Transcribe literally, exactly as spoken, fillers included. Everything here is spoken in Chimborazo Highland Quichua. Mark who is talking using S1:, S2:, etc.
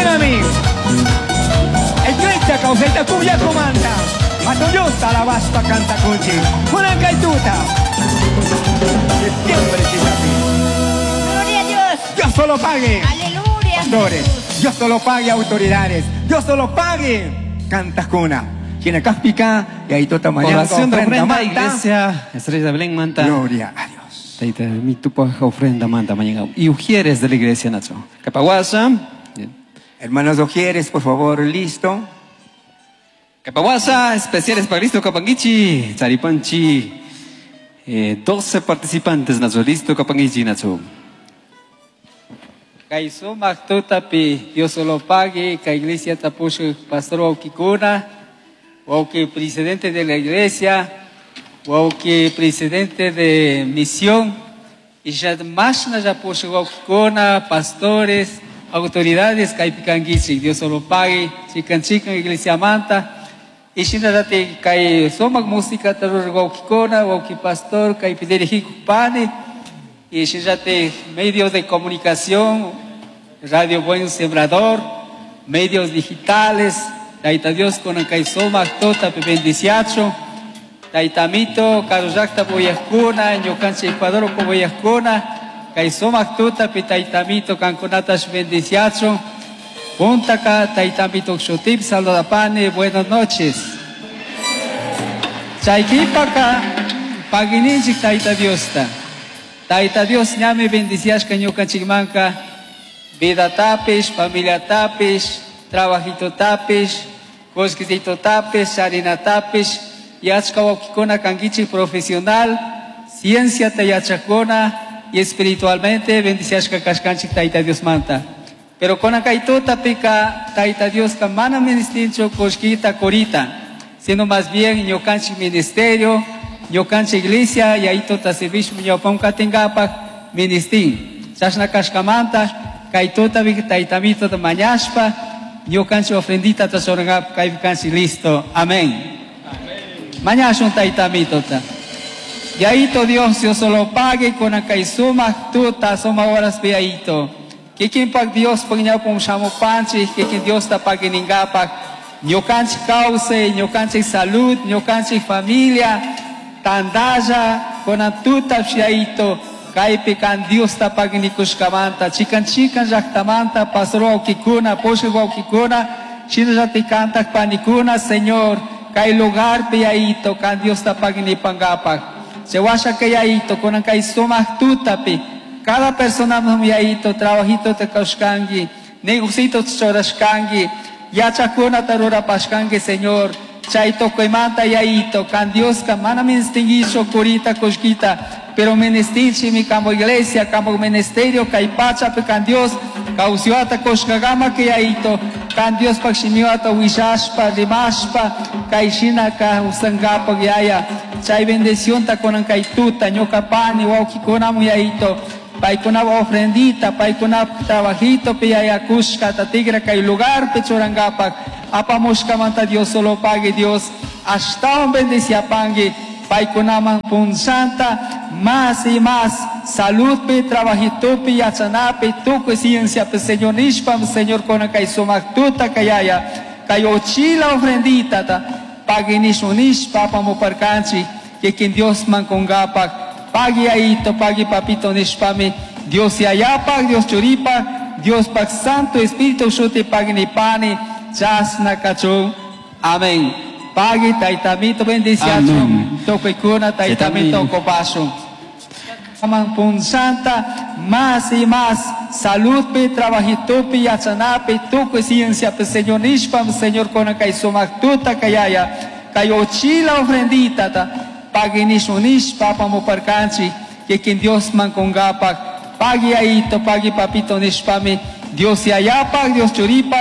S1: Shinami. Iglesia kawsayta kuyakumanta. Hatun Diosta alabashpa kantakunchik. Kunan kay tuta. Septiembre killapi.
S2: Gloria a Dios.
S1: Dios solo pague.
S2: Aleluya.
S1: Pastores, Dios solo pague autoridades. Dios solo pague. Kantakuna. Quien kaspika y ahí tota mañana
S3: Oración de ofrenda,
S1: manta.
S3: iglesia. Estrella de Belén manta.
S1: Gloria a Dios.
S3: Taita, mi tupa ofrenda manta mañana. Y ujieres de la iglesia, Nacho. Capahuasa.
S1: Hermanos Ojieres, por favor, listo.
S3: Capahuasa, especiales para Cristo Capanguichi, Charipanchi. Eh, doce participantes, Nacho. Listo, Capanguichi, Nacho.
S4: Kay sumak tutapi Dios solo pague, kay iglesia tapusho pastor wawkikuna, wawki presidente de la iglesia, wawki presidente de misión, y ya más na ya pusho wawkikuna, pastores, autoridades, kay pikangichi, Dios solo pague, chikan chikan iglesia manta, y shinarate kay sumak música tarur wawkikuna, wawki pastor, kay pidirijiku pani, y fíjate, medios de comunicación, Radio Buen Sembrador, medios digitales, Taita Dios con el soma tota bendiciacho, Taitamito, Caruyacta Boyascuna, Ñocanche Ecuador Boyascuna, Kaisoma tota Taitamito, Canconatas bendiciacho, Puntaca, Taitamito Xotip, Saludapane, buenas noches. Chayquipaka, Paguininchik Taita Diosta. Taita Dios ñami bendiciashka ñukanchikmanka vida tapish, familia tapish, trabajito tapish, kullkisito tapish, charina tapish, yachka wawkikuna kankichik profesional, ciencia ta yachakuna y espiritualmente bendiciashka kashkanchik Taita Dios manta. Pero con kay tutapika Taita Dios ka mana ministincho kullkita kurita, sino más bien ñukanchik ministerio, ñukanchik iglesia y ahí tota servicio ñawpam katinkapak ministin. Chashna kashkamanta kay tutapi taytamito ta mañashpa ñukanchik ofrendita ta churangapa kaypi kanchik listo. Amén. Mañashun taytamito ta. Yaito Dios, Dios solo pague con kay sumak tuta suma horas piaito. Kikin pak Dios pag ñawpam shamupanchik, kikin Dios ta paginingapak. Ñukanchik kawsay, ñukanchik salud, ñukanchik familia, tandalla, con tuta psiaito, kaypi kan Dios ta paginikushkamanta, chikan chikan llaktamanta, pastor wawkikuna, pushak wawkikuna, shinallati kantak panikuna, Señor, kay lugar piaito, kan Dios ta paginipangapak. Chewasha kayaito, kunan kay sumak tutapi, cada persona yaito, trabajito te kaushkangi, negocito chorashkangi, yachakuna tarurapashkangi, Señor. Chaito koimanta yaito, kan Dios ka mana ministinguicho kurita kushkita, pero ministinchi mi campo iglesia, campo ministerio, kay pacha pe kan Dios, kausiota kushkagama que yaito, kan Dios pakshimiota wishashpa, rimashpa, kay shina ka usangapa yaya, chay bendición ta konan kay tuta, ñoka pani, wawkikunamu yaito, paykunapa ofrendita, paykunapa trabajito, piyaya kushka, ta tigra kay lugar pechurangapak, apamushkamanta Dios solo pague Dios, ashtawan bendiciapangi, paykunaman punchanta, más y más, salud pi, trabajito pi, yachanapi, tukuy ciencia pi, Señor nishpam, Señor konan kay sumak tuta kayaya, kay ochila ofrendita ta, pague nishpa, apamuparkanchi, kikin Dios mankungapak, pagi aito, pagi papito nishpami, Dios yayapak, Dios churipak, Dios pak Santo Espíritu shuti pagi nipani, chasna kachun. Amén. Pagi taitamito bendiciachun,
S3: Amén.
S4: tukuykuna taitamito kopashun. Aman punchanta, más y más, salud pi, trabajito pi, yachanapi, tukuy ciencia pi, Señor nishpam, Señor konan kay sumak tuta kayaya, kay ochila ofrendita ta, pagi nishunish, apamuparkanchik, kikin Dios mankungapak, pagi aito, pagi papito nishpami, Dios yayapak, Dios churipak,